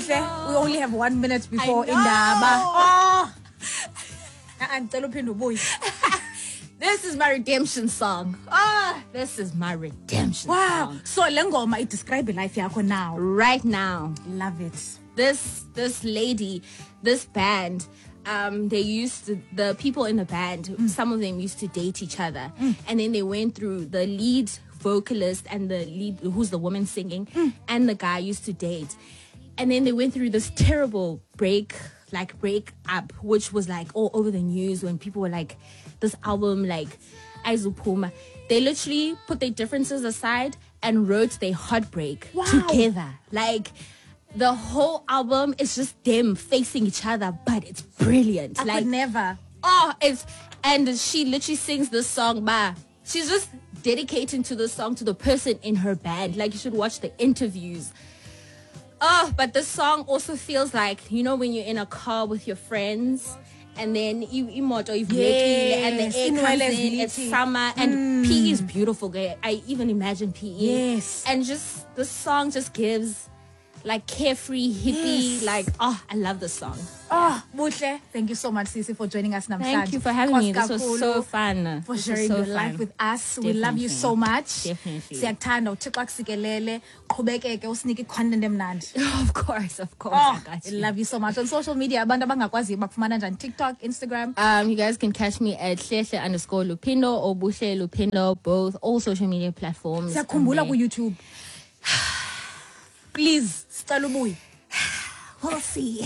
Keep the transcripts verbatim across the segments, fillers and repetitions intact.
Buhle, we only have one minute before I know. indaba. Oh. Ah, ndicela uphinde ubuye. This is my redemption song. Ah, this is my redemption Wow. song. So le ngoma i-describe life yakho now. Right now. Love it. This this lady, this band, um, they used to, the people in the band, Mm. some of them used to date each other. And then they went through the lead vocalist and the lead who's the woman singing Mm. and the guy used to date. And then they went through this terrible break, like break up, which was like all over the news when people were like, this album, like Aizupuma. They literally put their differences aside and wrote their heartbreak Wow. together. Like the whole album is just them facing each other, but it's brilliant. I like could never. Oh, it's and she literally sings this song, ba. She's just dedicating to this song to the person in her band. Like you should watch the interviews. Oh, but this song also feels like, you know, when you're in a car with your friends and then you imoto ivulekile and the Yes, air comes inwele in, it's zilithi. summer and P E is beautiful. girl. I even imagine P E. Yes. And just this song just gives like carefree hippie, Yes. like oh, I love this song. Oh, Buhle, thank you so much, Sisi, for joining us namhlanje. Thank you for having me. This was Nkosi so kakhulu fun. For This was sharing so your life fun. with us. We love you Definitely. so much. Definitely. Siyakuthanda, uThixo akusikelele. Qhubekeke usinike i-content emnandi. Of course, of course. Oh, I got I you. love you so much. On social media, abantu abangakwaziyo bakufumana njani? TikTok, Instagram. Um, you guys can catch me at Hlehle underscore Lupindo or Buhle Lupindo, both all social media platforms. Siyakhumbula And then- ku-YouTube. Please, sicela ubuye. We'll see.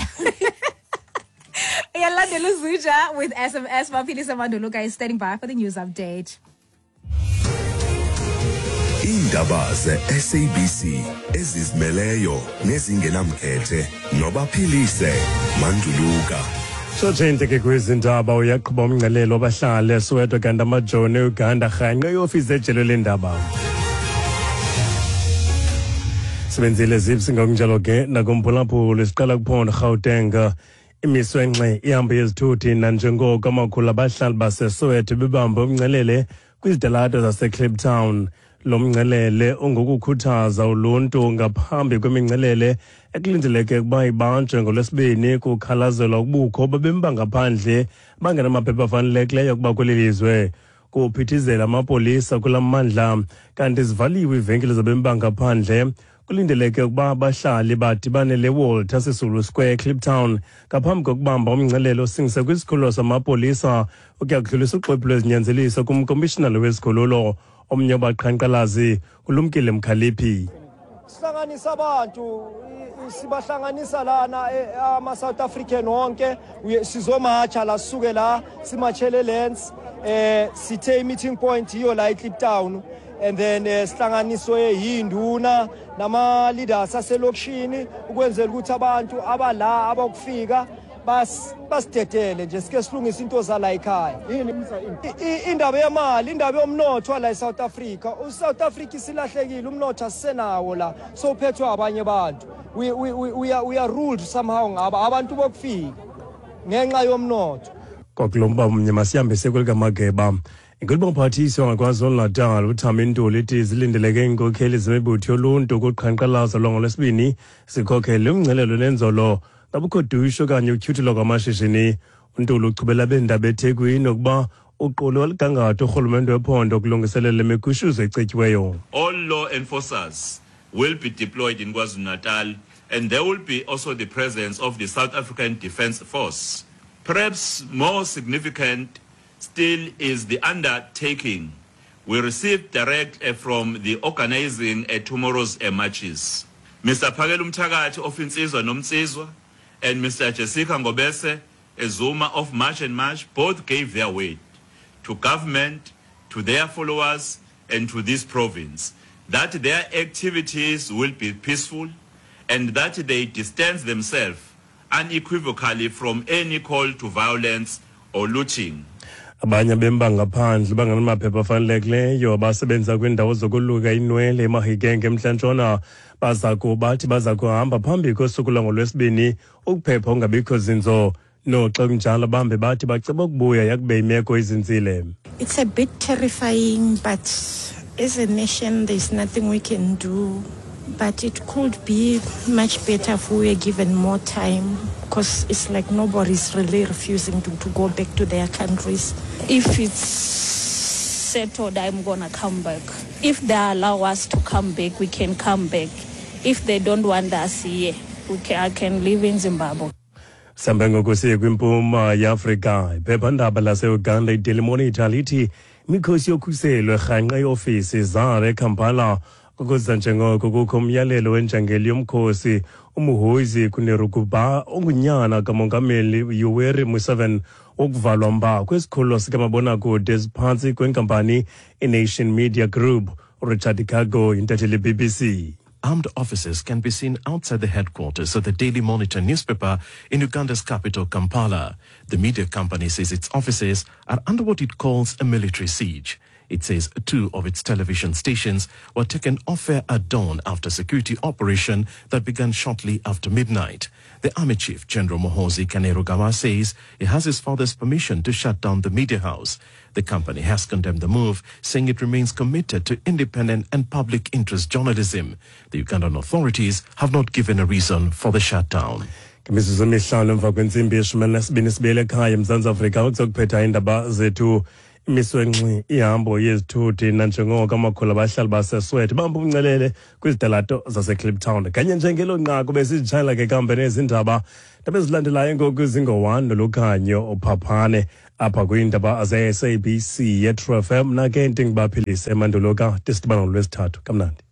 Iyalandela uZuja with S M S. Maphilisa Manduluka is standing by for the news update. Iindaba ze-S A B C ezizimeleyo nezingenamkhethe nobaphilise Manduluka. Sotshente ke kwezindaba uyaqhuba umngcelelo wabahlali eSoweto kanti amajoni eUganda rhanqe iofisi ejelo lendaba. Sebenzile zipsi ngokunjalo ke nakumphulaphuli siqala kuphondo Gauteng. Imiswe ngxe ihambo yezithuthi nanjengoko amakhulu abahlali baseSoweto bebambe umngcelele kwizitalato zaseKliptown. Lo mngcelele ungokukhuthaza uluntu ngaphambi kwemingcelele ekulindeleke ukuba ibanjwe ngoLwesibini kukhalazelwa ubukho babemi bangaphandle bangenamaphepha afanelekileyo ukuba kweli lizwe. Kuphithizela amapolisa kula mmandla kanti zivaliwe iivenkile zabemi bangaphandle. Kulindeleke ukuba abahlali badibane leWalter Sisulu Square eKliptown ngaphambi kokubamba umngcelele osingise kwisikhululo samapolisa ukuya kudlulisa uxwebhu lwezinyanzeliso kumkomishinala wesikhululo. Omnye wabaqhankqalazi uLumkile Mkhaliphi. Sihlanganisa abantu, sibahlanganisa lana, eh, ama South African wonke, uye-, sizomatsha la, sisuke la simatshele Lens, eh, sithe meeting point iyo la eKliptown, and then, eh, sihlanganiswe yinduna nama leaders aselokishini ukwenzela ukuthi abantu abala abakufika bas-, basidedele nje sike silungise into zala ekhaya. I-, i-, indaba yemali, indaba yomnotho la eSouth Africa. USouth Africa isilahlekile, umnotho asisenawo la, so uphethwe abanye abantu. We, we, we, we are, we are ruled somehow ngaba abantu bokufika ngenxa yomnotho. Kwakulomba mnye masihambise kwelikamageba. Inkulubophathiswa ngaKwaZulu-Natal uThami Ntuli ithi zilindeleke iinkokheli zemibutho yoluntu kuqhankqalazo lwangoLwesibini zikhokhele umngcelelo nenzolo ngabukho dusho okanye utyhuthelo kwamashishini. UNtuli uchubela beendaba eThekwini ukuba uqulu olugangatho urhulumente wephondo ukulungiselela imigushuzo ecetyiweyo. All law enforcers will be deployed in KwaZulu-Natal, and there will be also the presence of the South African Defence Force. Perhaps more significant still is the undertaking we received direct, eh, from the organizing, eh, tomorrow's, eh, marches. Mister Phakela Umthakathi of Insizwa Nomsizwa and Mister Jessica Ngobese Zuma of March and March both gave their word to government, to their followers, and to this province that their activities will be peaceful and that they distance themselves unequivocally from any call to violence or looting. Abanye bemba ngaphandle bangenamaphepha afanelekileyo abasebenza kwiindawo zokoluka inwele eMahikeng eMntla-Ntshona baza kubathi baza kuhamba phambi kosuku lwangoLwesibini ukuphepha ungabikho zinzo. Noxa kunjalo bambe bathi baceba ukubuya yakube imeko izinzile. It's a bit terrifying, but as a nation there's nothing we can do. But it could be much better if we were given more time, because it's like nobody's really refusing to, to go back to their countries. If it's settled, I'm gonna come back. If they allow us to come back, we can come back. If they don't want us here, we can, I can live in Zimbabwe. Sihambe ngoku siye kwimpuma yeAfrika. Iphephandaba laseUganda iDaily Monitor lithi imikhosi yokhuselo erhanqe iofisi zalo eKampala ukuza njengoko kukho umyalelo wenjangeli yomkhosi uMuhoozi Kainerugaba ongunyana kamongameli Yoweri Museveni wokuvalwa mba kwesikhululo sikamabonakude esiphantsi kwenkampani iNation Media Group. URichard Kago intatheli B B C. Armed officers can be seen outside the headquarters of the Daily Monitor newspaper in Uganda's capital, Kampala. The media company says its offices are under what it calls a military siege. It says two of its television stations were taken off air at dawn after security operation that began shortly after midnight. The army chief, General Muhoozi Kainerugaba, says he has his father's permission to shut down the media house. The company has condemned the move, saying it remains committed to independent and public interest journalism. The Ugandan authorities have not given a reason for the shutdown. Ngemizuzu emihlanu emva kwentsimbi yeshumi elinesibini sibuyele ekhaya eMzantsi Afrika ukuzokuphetha iindaba zethu. Imiswe ngxi ihambo yezithuthi nanjengoko amakhulu abahlali baseSoweto bamba umncelele kwizitalato zaseKliptown. Kanye njengelo nqaku besizitshayela ke kambe nezindaba ndaba ezilandelayo ngoku zingo-one noLukhanyo Phaphane apha kwiindaba ze-S A B C yeTru F M. Mna ke ndinguBaphilise Manduluka, tisidibana ngolwesithathu. Kamnandi.